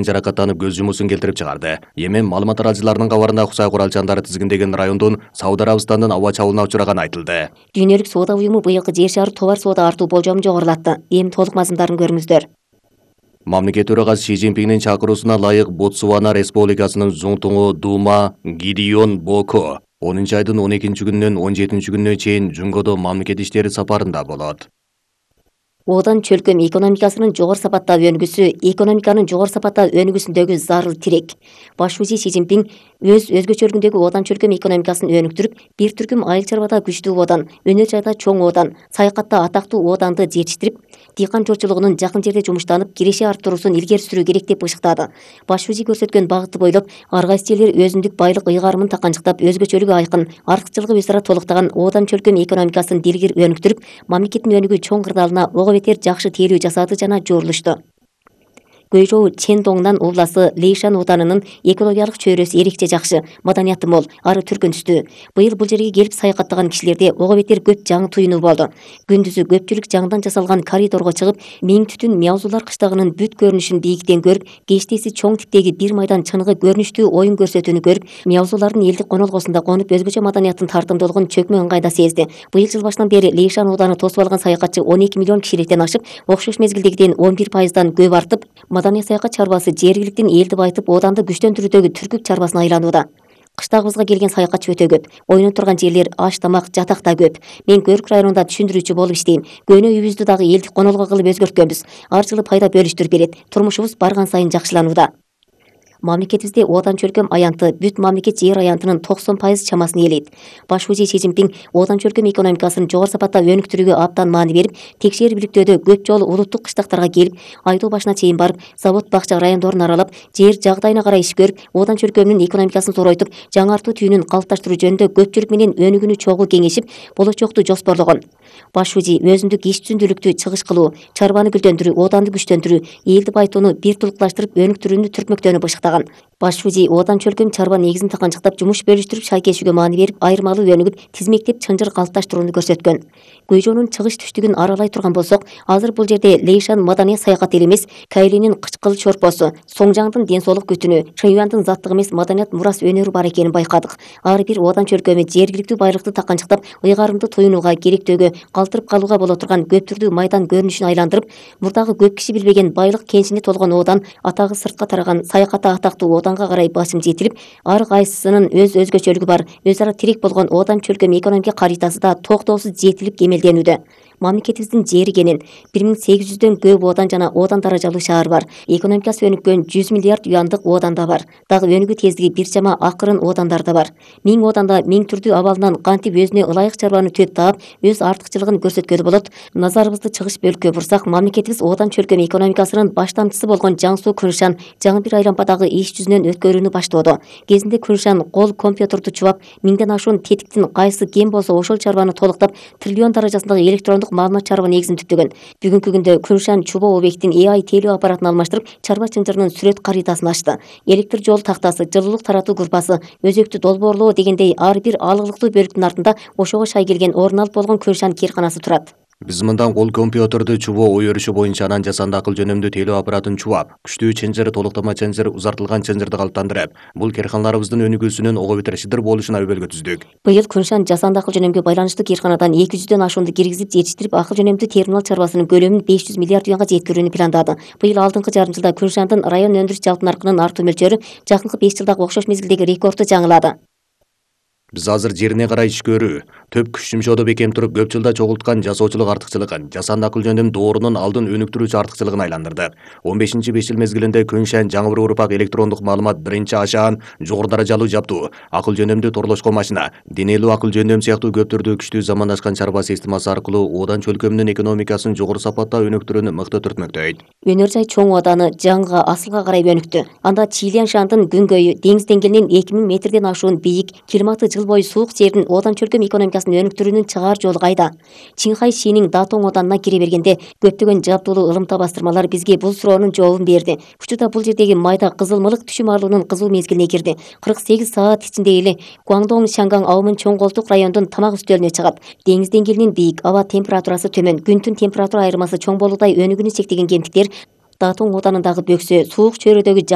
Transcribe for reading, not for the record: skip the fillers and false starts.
жаракаттанып көз жумуусун келтирип чыгарды. Эми маалымат аралчыларынын кабарында Кусай куралчандары тизгиндеген райондун Сауд Арабистандын аба чабуулуна учураганы айтылды. Дүйнөлүк соода уюму быйылкы жер шары товар соода артуу болжомун жогорулатты. Эми толук мазмундарын көрүңүздөр. Мамлекет төрагасы Си Цзиньпиндин чакыруусуна ылайык Ботсвана Республикасынын Зуңтуңу Дума Гидеон Боко 10-айдын 12-күнүнөн 17-күнүнө чейин Жунгодо мамлекет иштери сапарында болот. Одан чөлкөм экономикасынын жогору сапаттагы өнүгүүсү экономиканын жогору сапаттагы өнүгүүсүндөгү зарыл тирек. Баш вазир Си Цзиньпин өз өзгөчөлүгүндөгү одан чөлкөм экономикасын өнүктүрүп, бир түркүм айыл чарбада күчтүү одан, өнөр жайда чоң одан, саякатта атактуу оданды жетиштирип, дыйкан чорчулугунун жакын жерде жумуштанып, киреше арттыруусун илгери сүрүү керек деп бышыктады. Баш вазир көрсөткөн багытты бойлоп, ар кайсы жерлер өзүндүк байлык ыйгарымын таканчыктап, өзгөчөлүгү айкын, артыкчылыгы өз ара толуктаган одан чөлкөм экономикасын дилгир өнүктүрүп, мамлекеттин өнүгүү чоң кырдаалына ого бетер жакшы тейлөө жасады жана жорулушту. Гуйжоу Чендоңнан обласы Лейшан оданынын экологиялык чөйрөсү эрекче жакшы, маданияты мол, ары түркүн түстүү. Быйыл бул жерге келип саякаттаган кишилерде ого бетер көп жаңы туюнуу болду. Күндүзү көпчүлүк жаңдан жасалган коридорго чыгып, миң түтүн Мяузулар кыштагынын бүт көрүнүшүн бийиктен көрүп, кечтеси чоң типтеги бир майдан чыныгы көрүнүштүү оюн көрсөтүүнү көрүп, Мяузулардын элдик конолгосунда конуп өзгөчө маданияттын тартымдуулугун чөкмө ыңгайда сезди. Быйыл жыл башынан бери Лейшан оданы тосуп алган саякатчы 12 миллион кишиликтен ашып, окшош мезгилдегиден 11%дан көп артып, Маданий саякат чарбасы жергиликтин элди байытып, оданды күчтөндүрүүдөгү түркүк чарбасына айланууда. Кыштагыбызга келген саякатчы өтө көп. Ойнон турган жерлер, аш тамак, жатак да көп. Мен Көрүк районунда түшүндүрүүчү болуп иштейм. Көнө үйүбүздү дагы элдик конолго кылып өзгөрткөнбүз. Ар жылы пайда бөлүштүрүп берет. Турмушубуз барган сайын жакшыланууда. Мамлекетибизде одан чөлкөм аянты бүт мамлекет жер аянтынын 90% чамасын ээлейт. Баш вазир Си Цзиньпин одан чөлкөм экономикасын жогору сапатта өнүктүрүүгө абдан маани берип, текшер бийликтөөдө көп жолу улуттук кыштактарга келип, айдоо башына чейин барып, завод бакча райондорун аралап, жер жагдайына карай иш көрүп, одан чөлкөмүнүн экономикасын зоройтуп, жаңартуу түйүнүн калыпташтыруу жөнүндө көпчүлүк менен өнүгүүнү чогуу кеңешип, болочокту жоспорлогон. Баш вазир өзүндүк иш түзүндүүлүктү чыгыш кылуу, чарбаны гүлдөндүрүү, оданды күчтөндүрүү, элди байытууну бир тулукташтырып өнүктүрүүнү түртмөктөөнү бышыктаган. Баш вазир одан чөлкөм чарба негизин таканчыктап, жумуш бөлүштүрүп шайкешүүгө маани берип, айырмалуу өнүгүп, тизмектеп чынжыр калыпташтырууну көрсөткөн. Гуйжоонун чыгыш түштүгүн аралай турган болсок, азыр бул жерде Лейшан маданий саякат эле эмес, Кайлинин кычкыл чорпосу, Соңжаңдын ден соолук күтүнү, Шыюандын заттыгы эмес маданият мурас өнөрү бар экенин байкадык. Ар бир одан чөлкөмү жергиликтүү байлыкты таканчыктап, ыйгарымды туюнууга, керектөөгө, калтырып калууга боло турган көптүрдүү майдан көрүнүшүн айландырып, мурдагы көп киши билбеген байлык кенжине толгон одан, атагы сыртка тараган саякатта атактуу оданга карай басым жетилип, ар кайсысынын өз өзгөчөлүгү бар, өз ара тирек болгон одан чөлкөм экономика каритасы да токтоосуз жетилип кемелденүүдө. Мамлекетибиздин жери кенен 1800дөн көп одан жана одан даражалуу шаар бар. Экономикасы өнүккөн 100 миллиард юандык одан да бар. Дагы өнүгүү тездиги бир чама акырын одандар да бар. 1000 оданда 1000 түрдүү абалынан кантип өзүнө ылайык чарбаны түзүп таап, өз артыкчылыгын көрсөткөлү болот. Назарыбызды чыгыш бөлүккө бурсак, мамлекетибиз одан чөлкөм экономикасынын баштамчысы болгон Жаңсу Күншан жаңы бир айлампадагы иш жүзүнөн өткөрүүнү баштоодо. Кезинде Күншан кол компьютерду чубап, 1000ден ашуун тетиктин кайсы кем болсо ошол чарбаны толуктап, триллион даражасындагы электрондук маалымат чарба негизин түптөгөн. Бүгүнкү күндө Күншан чубоо объектин AI тейлөө аппаратын алмаштырып, чарба чынжырынын сүрөт каритасын ачты. Электр жол тактасы, жылуулук таратуу группасы, өзөктү долбоорлоо дегендей ар бир алыглыктуу бөлүктүн артында ошого шай келген орун алып болгон Күншан кээрканасы турат. Биз мындан кол компьютерду чубоо ой өрүшү боюнча анан жасанды акыл жөнөмдүү тейлөө аппаратын чубап, күчтүү чынжыр, толуктама чынжыр, узартылган чынжырды калыптандырып, бул кээрканаларыбыздын өнүгүүсүнүн ого бетер шыдыр болушуна өбөлгө түздүк. Быйыл Күншан жасанды акыл жөнөмгө байланыштуу кээрканадан 200дөн ашуунду киргизип жетиштирип, акыл жөнөмдүү терминал чарбасынын көлөмүн 500 миллиард юанга жеткирүүнү пландады. Быйыл алдыңкы жарым жылда Күншандын район өндүрүш жалпы наркынын артуу мөлчөрү жакынкы 5 жылдагы окшош мезгилдеги рекордду жаңылады. Биз азыр жерине карай иш көрүү, төп күч жумшоодо бекем туруп, көп жылда чогулткан жасоочулук артыкчылыгын, жасанды акыл жөнөм доорунун алдын өнүктүрүүчү артыкчылыгын айландырдык. 15-5 жыл мезгилинде Күншан жаңы бир урпак электрондук маалымат биринчи ашаан, жогору даражалуу жаптуу, акыл жөнөмдүү торлошко машина, денелүү акыл жөнөм сыяктуу көп түрдүү күчтүү замандашкан чарба системасы аркылуу одан чөлкөмүнүн экономикасын жогору сапатта өнүктүрүүнү мыкты түртмөктөйт. Өнөр жай чоң оданы жаңга асылга карай өнүктү. Анда Чиляншандын күнгөйү деңиз деңгээлинен 2000 метрден ашуун бийик, климаты жыл бою суук жердин одан чөлкөм экономикасын өнүктүрүүнүн чыгаар жолу кайда? Чинхай Шинин Датоң оданына кире бергенде көптөгөн жабдуулуу ылымта бастырмалар бизге бул суроонун жообун берди. Учурда бул жердеги майда кызыл мылык түшүм арлуунун кызуу мезгилине кирди. 48 саат ичинде эле Гуандоң Шанган аумын чоң колтук райондун тамак үстөлүнө чыгат. Деңиз деңгээлинен бийик, аба температурасы төмөн, күндүн температура айырмасы чоң болуудай өнүгүүнү чектеген кемтиктер Датун оданындагы бөксө, Суук чөйрөдөгү